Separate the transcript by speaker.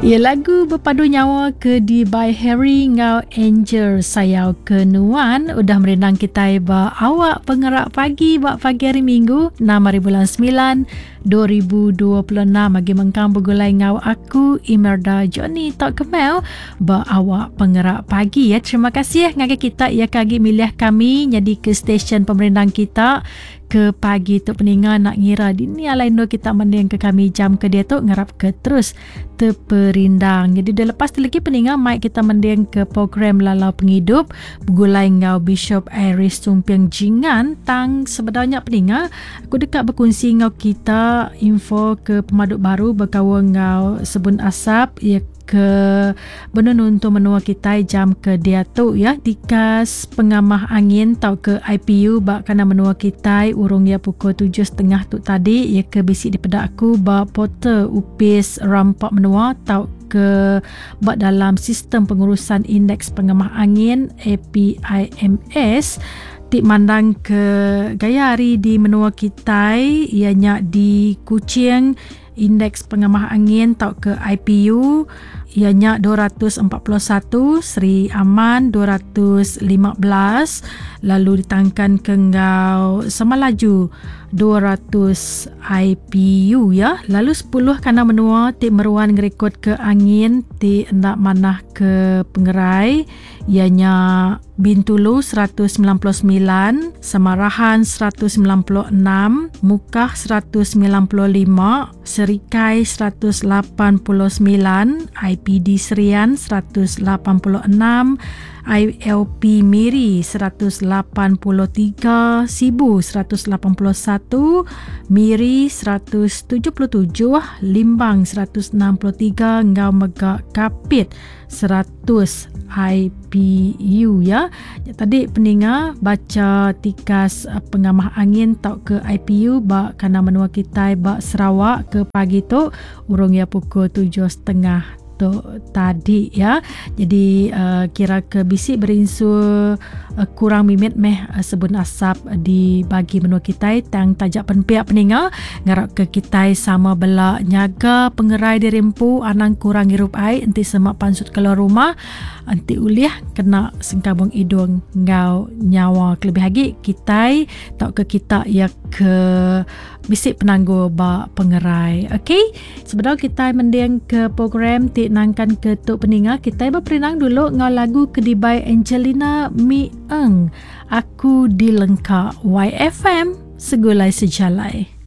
Speaker 1: Ya lagu bepadu nyawa ke di by Harry enggau Angel Sayau ke Nuan udah merindang kitai ba awak pengerak pagi ba pagi hari Minggu 6 hari bulan 9 2026 agi mengkang begulai enggau aku Imelda Johnny Tok Kemel ba awak pengerak pagi ya. Terima kasih ngagai kita ya ke agi milih kami nyadi ke stesen pemerindang kita ke pagi tu peninga nak ngira dini alai endur kita mending ke kami jam ke diatu ngarap ke terus teperindang. Jadi dah lepas tu lagi peninga mai kita mending ke program Lalau Pengidup begulai enggau Bishop Iris Sumping Jingan tang sebedau nya peninga Aku deka bekunsi enggau kita info ke pemadu baru bekaul enggau sebun asap iya ke benung nuntung menua kitai jam ke diatu ya. Tikas pengamah angin tauka IPU ba kandang menua kitai urung iya pukul 7.30 tu tadi iya ke bisi dipeda aku ba portal Opis Rampa Menua tauka ba dalam Sistem Pengurusan Indeks Pengamah Angin APIMS ti mandangka gaya hari di menua kitai iya nya di Kuching Indeks Pengamah Angin tauka IPU iya nya 241, Sri Aman 215 lalu ditangkanka enggau Samalaju 200 IPU ya. Lalu 10 kandang menua ti meruan ngerikodka angin ti enda manah ke pengerai iya nya Bintulu 199, Samarahan 196, Mukah 195, Serikai 189, IPD Serian 186, ILP Miri 183, Sibu 181, Miri 177, Limbang 163 enggau mega Kapit 100 IPU ya. Ya tadi peninga baca tikas eh, pengamah angin tauka IPU ba kandang menua kitai ba Sarawak ke pagi tu urung ya pukul 7.30 tu tadi ya. Jadi uh, kira ke bisi berinsur uh, kurang mimit meh uh, sebun asap di bagi menua kitai tang taja pen pia peninga ngarap ke kitai sama bela nyaga pengerai diri empu anang kurang ngirup ai enti sema pansut keluar rumah enti ulih kena sengkabung idung enggau nyawa kelebih agi kitai tauka kita iya ke bisi penanggul ba pengerai. Okey, sebedau kitai mending ke program ti nangkan ke tu peninga kitai beperindang dulu enggau lagu ke dibai Angelina Mi Eng. Aku Dilengka YFM Segulai Sejalai.